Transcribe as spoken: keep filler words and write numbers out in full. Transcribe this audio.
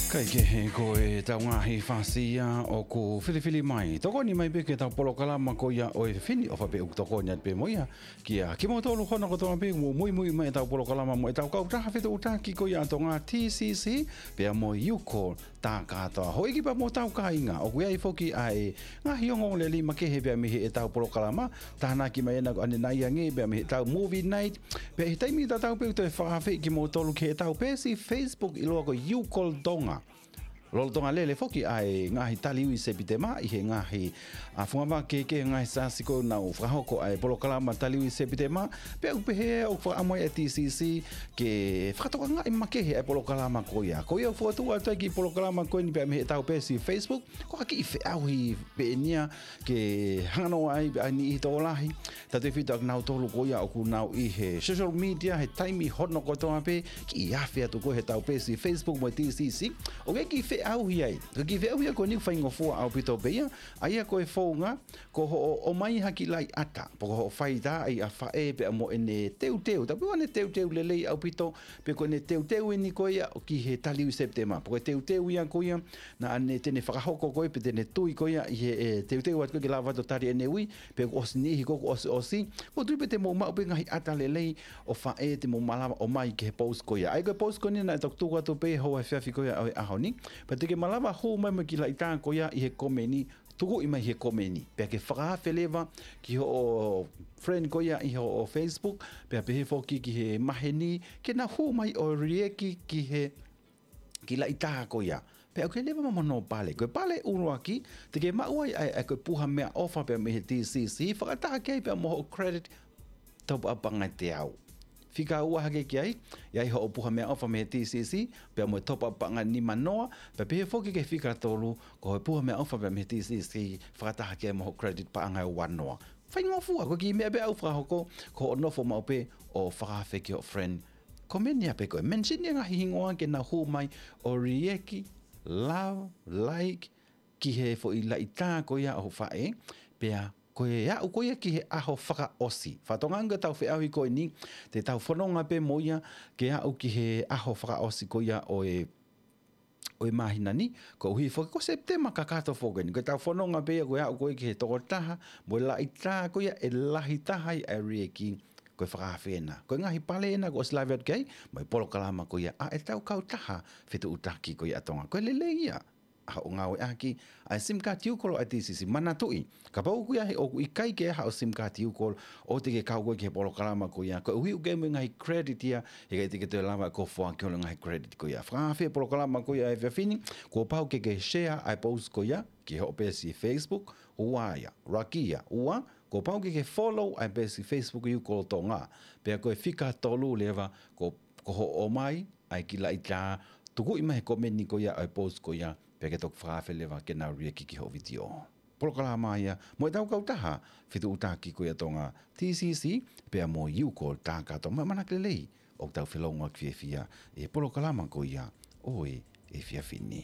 Kae kehe ko ʻetau ngaahi fasi ia ʻoku filifili mai. Tokoni mai pē ki heʻetau polokalama ko ia ʻo e fefine ʻofa pē ʻoku tokoni atu pē mo ia. Kia kimoutolu hono kotoa pē ʻoku muimui mai ʻetau polokalama mo ʻetau kautaha fetuʻutaki ko ia ʻa Tonga, T C C, pea mo e Youcall Takatoa. Houʻeiki pea mo hotau kāinga, ʻoku ʻi ai foki ʻa e ngaahi ongoongolelei makehe pea mei heʻetau polokalama. Tānaki mai ena ko ʻanenai ange pea mei heʻetau movie night. Pea ʻi he taimi tatau pē ʻoku toe fakaafeʻi kimoutolu ki heʻetau peesi Facebook ʻiloa ko e Youcall Tonga. Lolotonga lele foki ʻa e ngaahi tali ui Sepitema ʻi he ngaahi, ʻa, fungavaka kehekehe, ngaahi siasi ʻoku nau fakahoko ʻa e polokalama tali ui Sepitema. Pea ʻoku pehē ʻoku fakaʻamu ai ʻa e T C C ke fakatokangaʻi makehe ʻa e polokalama ko ia. Ko ia ʻoku fokotuʻu atu ai e kiʻi polokalama ko eni pea mei heʻetau peesi Facebook, ko ha kiʻi feʻauhi pē eni ia ke hanga noa ai pē ʻa e niʻihi tokolahi, tautefito ʻa kinautolu ko ia ʻoku nau ʻi he social media he taimi hono kotoa pē, kiʻi afe atu ko ē heʻetau peesi Facebook mo e T C C. ʻOku ʻi ai e kiʻi feʻauhi ai. Ko e kiʻi feʻauhi ia ko eni ʻoku faingofua ʻaupito pē ia, ʻa ia ko e founga, ko hoʻo ʻomai ha kiʻi laʻiʻata, pe ko hoʻo fai tā ai ʻa faʻē pea mo ʻene teuteu, tapu ʻene teuteu lelei ʻaupito, pe ko ʻene teuteu eni ko ia ʻo ki he tali ui Sepitema. Pe ko e teuteu ia ko ia naʻa ne, te ne fakahoko ko ē, pe te ne tui ko ia ʻi he, ʻe, teuteu atu ko ē ke lava atu ʻo tali ʻene ui, pe kuo ʻosi niʻihi ko ē kuo ʻosi ʻosi. ʻOku ou tui pē te mou maʻu pē ngaahi ʻata lelei ʻo faʻē te mou malava ʻomai ki he post ko ia. ʻA ia ko e post ko eni naʻe toki tuku atu pē he efiafi ko ia ʻo e ʻaho ni. Pea te ke malava hū mai mo e kiʻi laʻitā ko ia ʻi he komeni, tukuʻi mai he komeni. Pea ke fakaafe leva ki hoʻo friend ko ia ʻi hoʻo Facebook, pea pehē foki ki he maheni, ke nau hū mai ʻo react ki he kiʻi laʻitā ko ia. Pea ʻoku ʻi ai leva mo hono pale. Ko e pale ʻuluaki, te ke maʻu ai ʻa e, ʻa e ko e puha meʻaʻofa pea mei he T C C, fakataha ki ai pea mo hoʻo credit top up paʻanga ʻe teau. Fika ua hake ki ai, ʻi ai hoʻo puha meʻaʻofa mei he T C C, pea mo e top up paʻanga ʻe nima noa, pea pehē foki ki he fika tolu, ko e puha meʻaʻofa pea mei he T C C, fakataha ki ai mo hoʻo credit paʻanga ʻe ua noa. Faingofua, ko e kiʻi meʻa pē ʻoku fakahoko, ko hoʻo nofo maʻu pē ʻo fakaafe ki hoʻo friend. Komeni ā pē ko ē, mention e ngaahi hingoa ke nau hū mai ʻo react, love, like, ki he foʻi laʻitā ko ia ʻo hoʻo faʻē, pea ko e aʻu ko ia ki he ʻaho fakaʻosi. Fakatokangaʻi ange ko ʻetau feʻauhi ko eni, te tau fononga pē mo ia ke aʻu ki he ʻaho fakaʻosi ko ia ʻo e, ʻo e māhina ni, koeʻuhi foki ko Sepitema kakato foki eni. Ko ʻetau fononga pē ia ko e aʻu ko ia ki he tokotaha mo e laʻitā ko ia ʻe lahi taha ai ʻa e react, ko e fakaafe ena. Ko e ngaahi pale ena kuo ʻosi lave atu ki ai, mo e polokalama ko ia ʻa ʻetau kautaha fetuʻutaki ko ia ʻa Tonga. Ko e lelei ia ʻa hoʻo ngāueʻaki ʻa e SIM card Youcall ʻa e T C C. Manatuʻi, kapau ʻoku ʻi ai, ʻoku ʻikai ke ʻi ai haʻo SIM card Youcall, ʻoua te ke kau koe ki he polokalama ko ia. Koeʻuhi ʻoku ʻi ai mo e ngaahi credit ia, heʻikai te ke toe lava ʻo foaki holo e ngaahi credit ko ia. Fakaafe polokalama ko ia he efiafi ni, kuo pau ke ke share ʻa e post ko ia ki hoʻo peesi Facebook, ua ia, ʻuluaki ia, ua, kuo pau ke ke follow ʻa e peesi Facebook Youcall Tonga. Pea ko e fika tolu leva, ko, ko hoʻo ʻomai ʻa e kiʻi laʻitā, tukuʻi mai he komeni ko ia ʻo e post ko ia, pea ke toki fakaafe leva ke nau react ki hoʻo vitiō. Polokalama ia mo ʻetau kautaha fetuʻutaki ko ia ʻa Tonga, T C C, pea mo Youcall Takatoa. Mo e ʻamanaki lelei ʻoku tau felōngoaki fiefia ʻi he polokalama ko ia ʻo e efiafi ni.